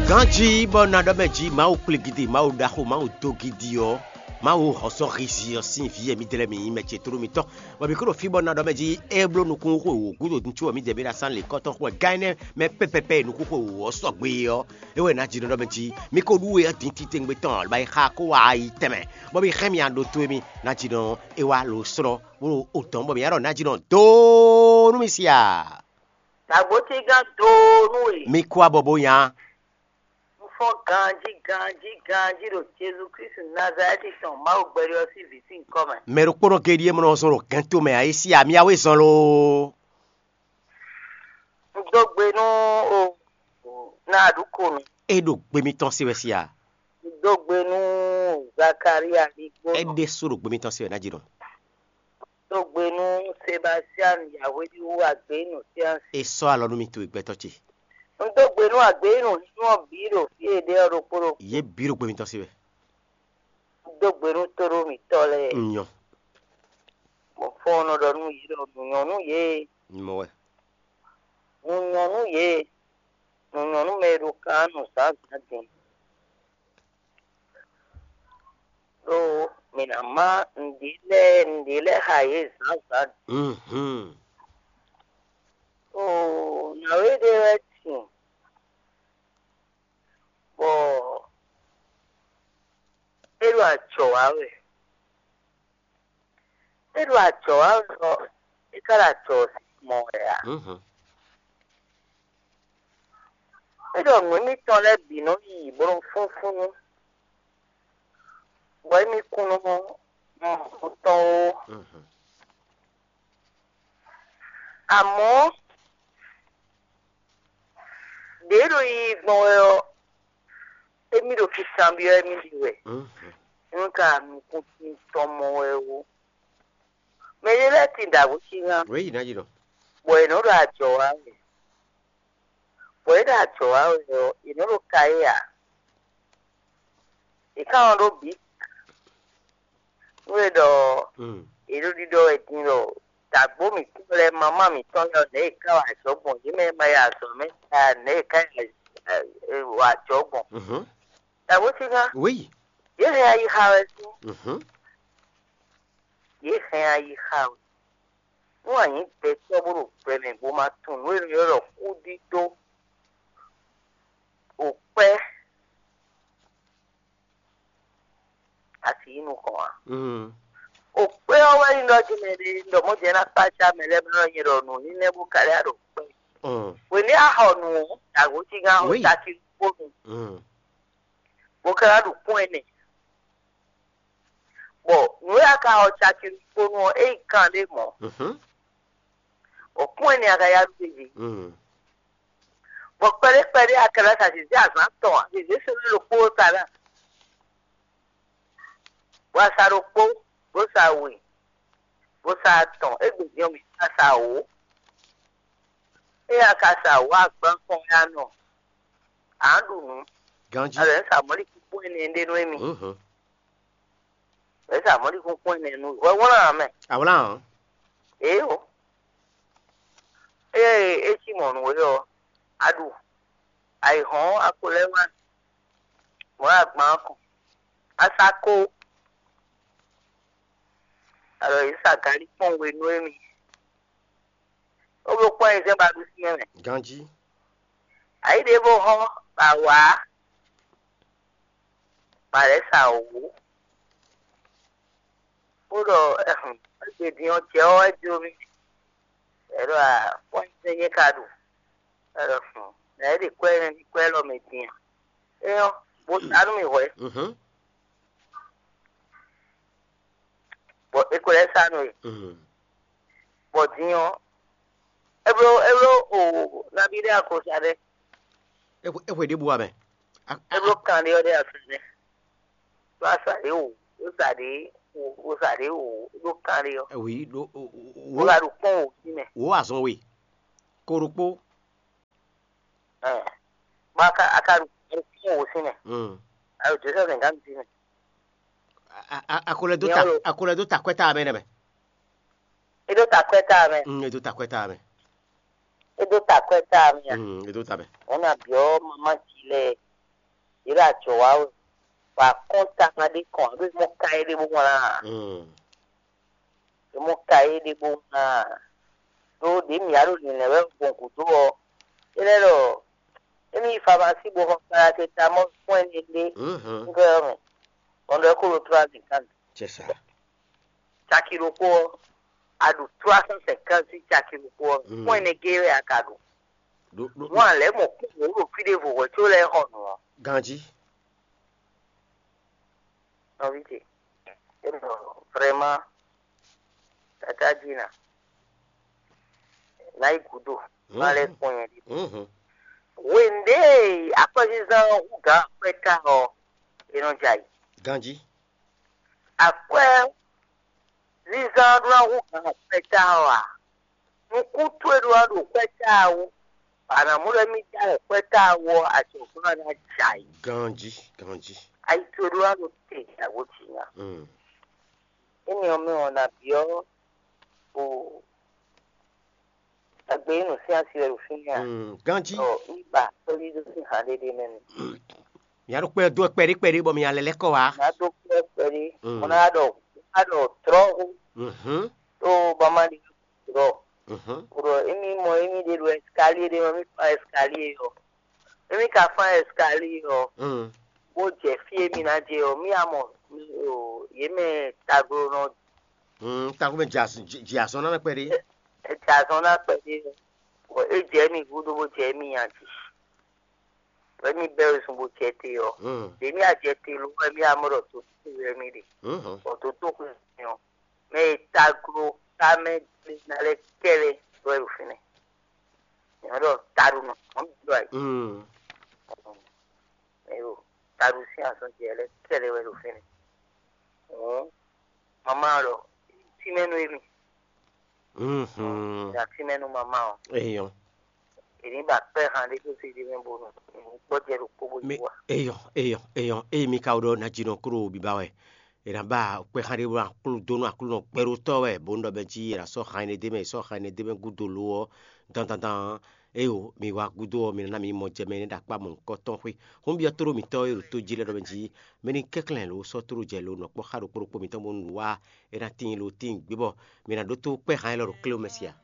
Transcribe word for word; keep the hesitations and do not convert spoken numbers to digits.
Ganjí bɔ ná ɖɔ mɛ jí Mawu kplé gidi, Mawu ɖaxó, Mawu dó gidi ɔ́, Mawu hɔnsɔ́ hizi ɔ́ sín vǐ e mǐdɛɛ lɛ́ɛ mǐ nyí mɛ ce tlóló mitɔn, bɔ mǐ kó ɖo fí bɔ ná ɖɔ mɛ jí é bló nukúnxwe wǒ gúdo din có mǐdɛɛ mǐ ɖo asán lě kɔ́tɔn xo wɛ gán énɛ́ mɛ pɛ́pɛ́pɛ́ e nukúnxwe wǒ ɔ́ sɔgbe é ɔ́, é wɛ ná jínɔ ɖɔ mɛ jí mǐ ko ɖú we ɔ́ din titewungbe tɔn, bɔ é xa kó wá yi tɛnmɛ, bɔ mǐ hɛn mì ɖo towe mì ná jínɔ é wá lo slɔ́ bó ɖo o tɔn bɔ mǐ ná ɖɔ ná jínɔ dó nú mì sia. Nǎgbó cí gán doo nú we. Mi kú abɔ bó nya. Un fɔ́n ganjí ganjí ganjí ɖo Jezu Klísu Nazalɛ́ti tɔn Mawu gbɛɖe ɔ́ sín vǐ sín nyǐkɔ mɛ. Mɛ ɖokpónɔ géɖíe mɔ nɔ zɔn ɖo gɛ́nto mɛ ǎ, é sí amyáwé zɔn loo. Un dó gbe nú o ná ɖu ko nu. É ɖo gbe mitɔn se wɛ sia. Un dó gbe nú Zakalía ligbó. É ɖésú ɖo gbe mitɔn se wɛ ná jí ɖɔ. Dó gbe nú Sebastian Yahweh ɖi wú agběnú Siansi. É sɔ́ alɔ nú mi towe gbɛtɔ́ ce. Un dó gbe nú agběnú nínú ɔ́ bǐ ɖo fí e ɖe ɔ́ ɖokpó ɖokpó. Yě bǐ ɖo gbe mitɔn se wɛ. Un dó gbe nú tóɖó mǐtɔn lɛ́ɛ. Un nyɔ. Bɔ fɔ́n nɔ ɖɔ nú yě ɖɔ nǔ nyɔ́ nú yě. Un mɔ wɛ. Nǔ nyɔ́ nú yě. Nǔ nyɔ́ nú mɛ e ɖo kan nú zǎnzǎn din. Ɖó mǐ ná má nǔɖé lɛ́ɛ nǔɖé lɛ́ɛ xa yě zǎnzǎn. Mhm. Oo, nǎwe ɖé wɛ tin, bɔ é ɖo ajɔ̌ wa wɛ. É ɖo ajɔ̌ wa wɛ ɔ́, é ka ɖo ajɔ̌ sín mɔ wɛ ǎ. Mhm. É ɖɔ nǔ émítɔn lɛ́ɛ bǐ nɔ yi bó nɔ fúnfún, bɔ émí kún nɔ mɔ nǔ tɔn ó. Mhm. Amɔ̌, ɖě ɖo yiyi gbɔn wɛ ɔ́, émí ɖo kikanbyɔ́ émí ɖi wɛ. Mhm. Nú ka nukúnsin tɔn mɔ wɛ ó. Mɛ ɖé lɛ́ɛ tin ɖo agucí ná. Wěyi ná jí ɖɔ. Bɔ è nɔ ɖo ajɔ̌ wa wɛ. Bɔ é ɖo ajɔ̌ wa wɛ ɔ́, è nɔ ɖo ka é ǎ. È ká wɔn ɖó bǐ. Nú è ɖɔ Mm. è ɖo ɖiɖɔ wɛ din ɖɔ dǎgbó mǐtɔn lɛ́ɛ, mamá mǐtɔn lɛ́ɛ, nɛ̌ è ká wa azɔ̌ gbɔn, yě mɛ e ma yi azɔ̌ mɛ ká, nɛ̌ è ká yi wa azɔ̌ gbɔn. Mhm. Dǎgbó cí ná. Wěyi. Yě hɛn ayixa wɛ sín. Mhm. Yě hɛn ayixa wɛ. Nú a nyǐ gbɛtɔ́ bó ɖo gbɛ mɛ bó ma tunwun nǔ e è nɔ ylɔ́ ɖɔ kúdídó, o kpɛ́, a sì yí nukɔn ǎ. Mm. O kpɛ́ ɔ́ wɛ nyí ɖɔ jí mɛ ɖé ɖɔ mɔ̌ jɛ ná kpácá mɛ lɛ́ɛ bó nɔ nyɛ ɖɔ nǔ ní nɛ́ bó ka lɛ́ ɖo kpɛ́. Mm. Hwenu e a xɔ nǔ ɔ́, dǎgǒ cí gán xɔ Oui. caki kpó nu, Mm. bó ka ná ɖu kún ɛnɛ. Bɔ nǔ e a ka xɔ caki kpó nu ɔ́, é nyí kan ɖé mɔ̌. Mhm. Bɔ kún ɛnɛ a ka yá ɖu gbéjé. Mm. Bɔ kpɛɖé kpɛɖé a ka ná sa zǐzé azǎn tɔn, zǐzé sɛ́n ɖokpó sa ná. Bɔ a sa ɖokpó, bó sa we, bó sa atɔn, égbé din ɔ́ mǐ ká sa wǒ. Ée a ka sa wǒ agban kɔn wɛ a nɔ, a nǎ ɖu nǔ. Ganjí. A lɛ̌ sa mɔ̌likúnkún ɛnɛ ɖé nú émí. Mhm. Lɛ̌ sa mɔ̌likúnkún ɛnɛ nú hwɛhwlán ǎ mɛ. Awlán ɔ́. Ěo. Ée é cí mɔ̌ nú we ɔ́, a ɖu. Ayǐhɔ́n a ko lɛ́ wá mɔ̌ agban ɔ́ kɔn. A sa ko. Alɔ yě sa galí kpɔ́n we nú émí. Ó bló kpɔ́n ayizɛ́n ba ɖu sín mɛ. Ganjí. Ayǐ ɖěvo hɔ́n ba wǎ, ba lɛ̌ sa wǒ. Bó ɖɔ ɛhun, égbe din ɔ́ jɛ ɔ́ wɛ jó mì. Ɛ ɖɔ a kpɔ́n ayizɛ́n nyɛ ka ɖu. Ɛ ɖɔ fun, nǎ é ɖe kwɛ́ nɛ́ ní kwɛ́ élɔ́ mɛ din a? É nyɔ́, bó sa nú mì hwɛ̌. Mhm. Bɔ è ko lɛ́ sa nú e. Mm. Bɔ din ɔ́, é bló é bló o nabí ɖé akosa ɖé. É hwe- é hwe ɖěbǔ wá mɛ. A- É bló kan ɖé ɔ́ ɖé afin nɛ. Bó a sa ɖě o, bó sa ɖě o, bó sa ɖě o, é bló kan ɖé ɔ́. Ɛ wǐ ɖó o- o- o- Bó ka ɖo kpɔ́n o sí mɛ. Wǒ azɔn we. Ko ɖokpó. Ɛ, bó a ka a ka ɖo kpɔ́n o sí mɛ. Mm. A ɖo Josɛ́f gǎn sí mɛ. A- a- a- a ko lɛ dó ta Nyɔlo. A ko lɛ dó ta kwɛ́ta mɛ nɛ mɛ. É ɖó ta kwɛ́ta mɛ. Mm, e dó ta kwɛ́ta mɛ. É ɖó ta kwɛ́ta mɛ a? Mm, e dó ta mɛ. Wọn na biɔ mama ci lɛ ɖó ajɔ̌ wa wɛ, bɔ akɔ́ntakan ɖé kɔn ǎ, ɖó mɔ ka é ɖé bó wlán ǎ. Mm. Ɖó mɔ ka é ɖé bó wlán ǎ. Ɖó ɖě mǐ wá ɖo lǐnlɛ́n wɛ gbɔn gǔdo ɔ́, é lɛ́ ɖɔ émí yi famasí bó xɔ paracetamɔ́l kpɔ́n ɛnɛ ɖé Mhm. ŋgɔ́ ɔ́ mɛ, bɔ un ɖɔ é kó ɖo trois cinquante. C'est ça. Caki ɖokpó ɔ́, a ɖu trois cent cinquante caki ɖokpó ɔ́, Mm. kpɔ́n ɛnɛ géé wɛ a ka ɖu. Ɖo ɖo Wọ́n lɛ́ mɔ kú wǒ ɖo fí ɖěvo hwɛ̌ có lɛ́ xɔ nǔ ɔ́. Ganjí. Nɔví ce, é ɖɔ vraiment, tata jí na, ná yi gǔdo, má lɛ́ kpɔ́n nyɛ ɖi. Mhm. Hwenu ɖě akwɛ́zínzán ɔ́ hú gǎn akwɛ́ ta ɔ́, é nɔ jɛ ayǐ. Ganjí. Akwɛ́zínzán ɔ́ ɖó ná hú gǎn akwɛ́ ta ɔ́ ǎ. Nukún towe ɖó ná ɖo kwɛ́ ta wú, bɔ a nǎ mɔ ɖɔ émí ta wɛ kwɛ́ ta wú ɔ́, ajɔ̌gbɔ́n ná jɛ ayǐ. Ganjí, ganjí. Ayi towe ɖó ná ɖo te, yǎgbo jǐ nya. Mm. Énɛ́ ɔ́ mɛ ɔ́, nǎ byɔ́ o agbe e nǔ sín asi wɛ ɖo fínɛ́ a? Mm, ganjí. Ɔ, un ba kplɔ́ ɖó sín han ɖé ɖé mɛ mi. Mǐ á ɖo kpɛ́ dó kpɛɖé kpɛɖé bɔ mǐ ná lɛ́ lɛ́ kɔ wá. Nǎ dó kpɛ́ kpɛɖé. Mm. Mo ná ɖɔ, má ɖɔ trɔ́ hú. Mhm. Tó bama ɖi trɔ́. Mhm. Ɖɔ émí mɔ émí ɖe ɖo ɛskalie ɖé mɛ, mí fa ɛskalie ɔ́. Émí ka fán ɛskalie ɔ́, Mm. Bó jɛ fí e mí ná jɛ ɔ́, mí á mɔ o, yě mɛ taglonɔ Mm, taxu mɛ jɛ azɔn ná kpɛɖé. Jɛ azɔn ná kpɛɖé ɔ́, bɔ é jɛ mì gúdo bó jɛ mì nya jí. Bɔ émí bɛ́ wezun bó jɛ te ɔ́, Mm. ɖě mí á jɛ te ló wɛ mí á mɔ ɖɔ tó tó wɛ mí ɖe. Mhm. Bɔ tó tó xwe mì ɔ́, mɛ e taglo ká mɛ ná lɛ́ kɛ́ lɛ́ wɛ ɖo fínɛ́. Nyɔ̌ ɖɔ taɖunɔ, mɔ̌ mi ɖɔ ayǐ. Mm. Ayo, taɖu sín azɔn jɛ lɛ́ kɛ́ lɛ́ wɛ ɖo fínɛ́. Hǔn, mamá ɖɔ, tínmɛ nú émí. Mhm. Ɖa tínmɛ nú mamá ɔ́. Eyɔn. Èní ba kpɛ́ han ɖé tó sí ɖé mɛ bónú gbɔjɛ ɖokpó bó Mi yí wa. Eyɔn, eyɔn, eyɔn, eye mi ka ɖɔ najinɔ kúrò bíbá wɛ. È nǎ ba kpɛ́ han ɖé bó ná klú dó nú Aklúnɔ gbɛɖótɔ́ wɛ, bó nɔ bɛ jí è nǎ sɔ́ han énɛ́ d'é mɛ, è sɔ́ han énɛ́ d'é mɛ gúdo lo ɔ́, dandandan. Éyo, mi wá gúdo ɔ́, mi ná ná mi mɔ jɛ mɛ énɛ́ ɖo akpá mɔ̌hunkɔtɔn xwé. Hún byɔ́ tlóló mǐtɔn e ɖo tó jí lɛ́ɛ ɖɔ mɛ jí, mɛ ní kɛnklɛ́n lo sɔ́ tlóló jɛ lo nɔ kpɔ́ xá ɖokpó ɖokpó mǐtɔn bónú nǔ wa é ná tíin lo tíin gbé bɔ mi ná ɖótó kpɛ́ han élɔ́ ɖo klé ɔ́ mɛ sia.